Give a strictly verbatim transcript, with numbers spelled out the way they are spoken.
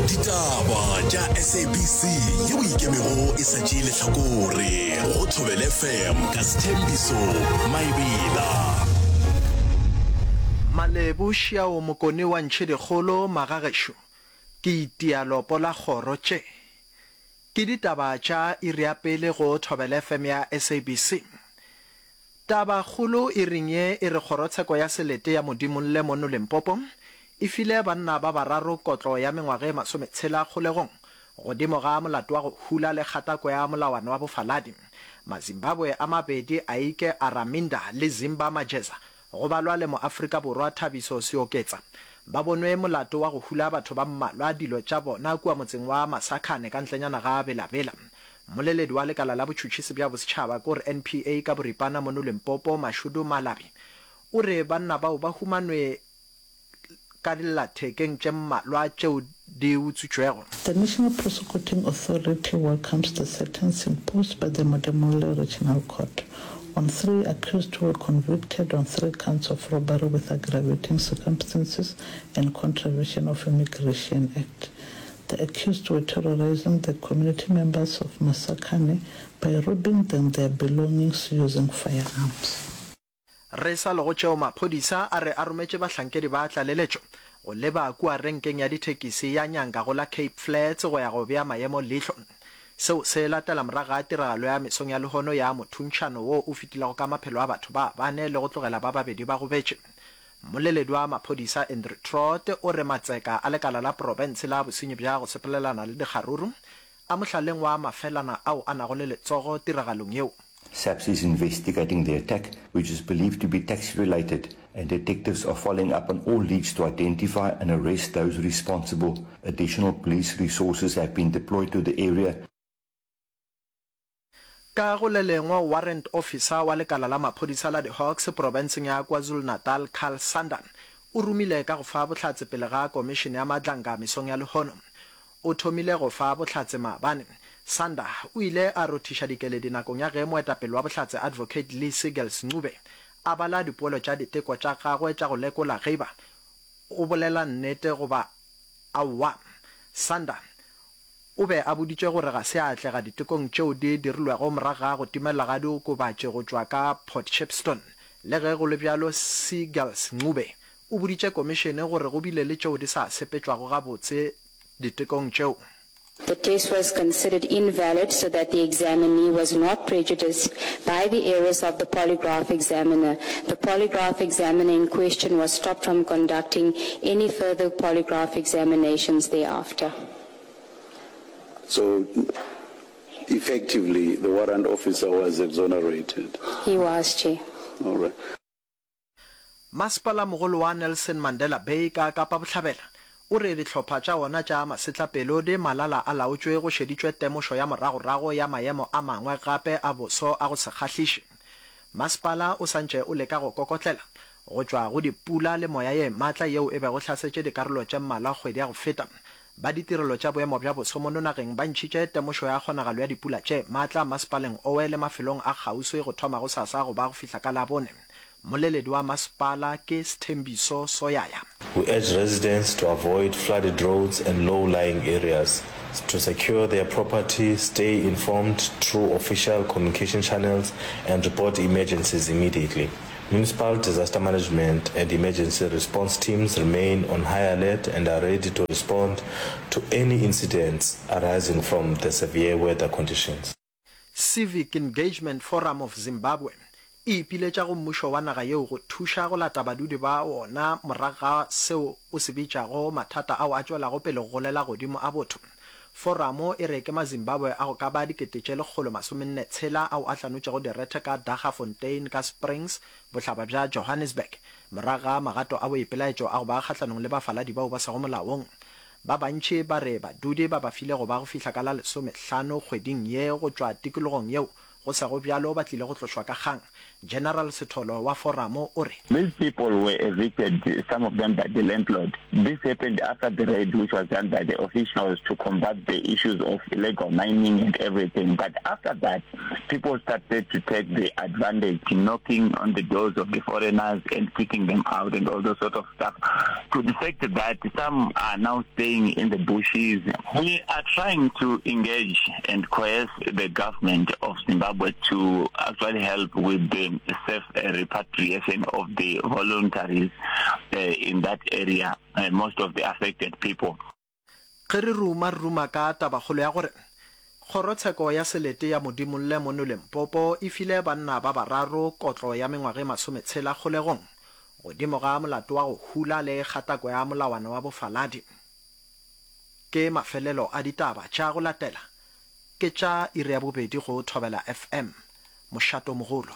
Ditaba tša S A B C yeo ikemego e sa tšee lehlakore go Thobela F M ka Sethembiso Maebela. Malebo Šiao Mokone wa Ntšhedikgolo Magagešo ke itia lopo la kgoro tše ke ditaba tša iri ya pele go Thobela F M ya S A B C. Tabakgolo iring ye e re kgorotsheko ya selete ya Modimolle mono Limpopo e file banna ba bararo kotlo ya mengwaga e masometshela kgolegong godimo ga molato wa go hula le kgatako ya molawana wa bofaladi. Mazimbabwe a mabedi, Aike Araminda le Zimba Majeza, go balwa le Moafrika Borwa Thabiso Seoketsa, ba bonwe molato wa go hula batho ba mmalwa dilo tša bona kua motseng wa Masakhane ka ntlenyana ga Bela-Bela. Mmoleledi wa lekala la botšhotšhisi bja bosetšhaba, kore N P A ka boripana, mono Limpopo, Mashudu Malabi, o re banna bao ba humanwe ka dillathekeng tše mmalwa tšeo di utswitšwego. The National Prosecuting Authority welcomes the sentence imposed by the Modimolle Regional Court on three accused who were convicted on three counts of robbery with aggravating circumstances and contravention of Immigration Act. The accused were terrorizing the community members of Masakhane by robbing them their belongings using firearms. Re sa le go tšeo, maphodisa a re a rometše bahlankedi ba tlaleletšo go leba kua renkeng ya dithekisi ya Nyanga go la Cape Flats go ya go bea maemo leihlo. Seo se latela morago ga tiragalo ya mesong ya lehono ya mothuntšhano wo o fetilego ka maphelo a batho ba bane le go tlogela ba babedi ba gobetše. Mmoleledi wa maphodisa Andrew Trott o re matseka a lekala la profense la bosenyi bja go sepelelana le dikgaruru a mohlaleng wa mafelana ao a nago le letsogo tiragalong yeo. SAPS is investigating the attack, which is believed to be taxi-related, and detectives are following up on all leads to identify and arrest those responsible. Additional police resources have been deployed to the area. Ka go le lengwe, warrant officer wa lekala la maphodisa la di-Hawks profenseng ya KwaZulu-Natal, Carl Sander, o romile ka go fa bohlatse pele ga komišene ya Madlanga mesong ya lehono. O thomile go fa bohlatse maabane. Sander o ile a rothiša dikeledi nakong ya ge moetapele wa bohlatse Advocate Lee Seagulls Ncube a bala dipoelo tša diteko tša gagwe tša go lekola ge eba o bolela nnete goba aowa. Sander o be a boditšwe gore ga se a atlega ditekong tšeo di dirilwego morago ga go timelela ga diokobatši go tšwa ka Port Shepstone. Le ge go le bjalo, Seagulls Ncube o boditše komišene gore go bile le tšeo di sa sepetšwago gabotse ditekong tšeo. The test was considered invalid so that the examinee was not prejudiced by the errors of the polygraph examiner. The polygraph examiner in question was stopped from conducting any further polygraph examinations thereafter. So effectively, the warrant officer was exonerated. He was, Chair. All right. Masepala-mogolo wa Nelson Mandela Bay ka Kapa Bohlabela o re dihlopha tša wona tša masetlapelo di malala a laotšwe go šeditšwe temošo ya moragorago ya maemo a mangwe gape a boso a go se kgahliše. Masepala o santše o leka go kokotlela go tšwa go dipula le moya ye matla yeo e bego hlasetše dikarolo tše mmalwa kgwedi ya go feta. Ba ditirelo tša boemo bja boso mono nageng ba ntšhitše temošo ya kgonagalo ya dipula tše matla masepaleng owe le mafelong a kgauswi go thoma gosasa go ba go fihla ka Labone. Mmoleledi wa masepala ke Sthembiso Soyaya. We urge residents to avoid flooded roads and low-lying areas, to secure their property, stay informed through official communication channels, and report emergencies immediately. Municipal disaster management and emergency response teams remain on high alert and are ready to respond to any incidents arising from the severe weather conditions. Civic Engagement Forum of Zimbabwe e ipiletša go mmušo wa naga yeo go thuša go lata badudi ba wona morago ga seo o se bitšago mathata ao a tšwelago pele go golela godimo a botho. Foramo e re ke Mazimbabwe a go ka ba dikete tše lekgolo masomenne tshela ao a hlanotšego direthe ka Daggafontein ka Springs, bohlaba bja Johannesburg, morago ga magato a boipelaetšo a go ba kgahlanong le bafaladi bao ba sego molaong. Ba bantši ba re badudi ba ba file go ba go fihla ka la lesomehlano kgweding ye go tšwa tikologong yeo Go sego bjalo ba tlile go tlošwa ka kgang. General Sitholo wa Foramo o re. These people were evicted, some of them by the landlord. This happened after the raid which was done by the officials to combat the issues of illegal mining and everything. But after that, people started to take the advantage, knocking on the doors of the foreigners and kicking them out and all those sort of stuff. To the fact that some are now staying in the bushes. We are trying to engage and coerce the government of Zimbabwe to actually help with the safe repatriation of the voluntaries uh, in that area, uh, most of the affected people. Ge re ruma re ruma ka tabakgolo ya gore Kgorotsheko ya Selete ya Modimolle mono Limpopo e file banna ba bararo kotlo ya mengwaga e masometshela kgolegong godimo ga molato wa go hula le kgatako ya molawana wa bofaladi. Ke mafelelo a ditaba tša go latela ke tša iri ya bobedi go Thobela F M, mošato mogolo.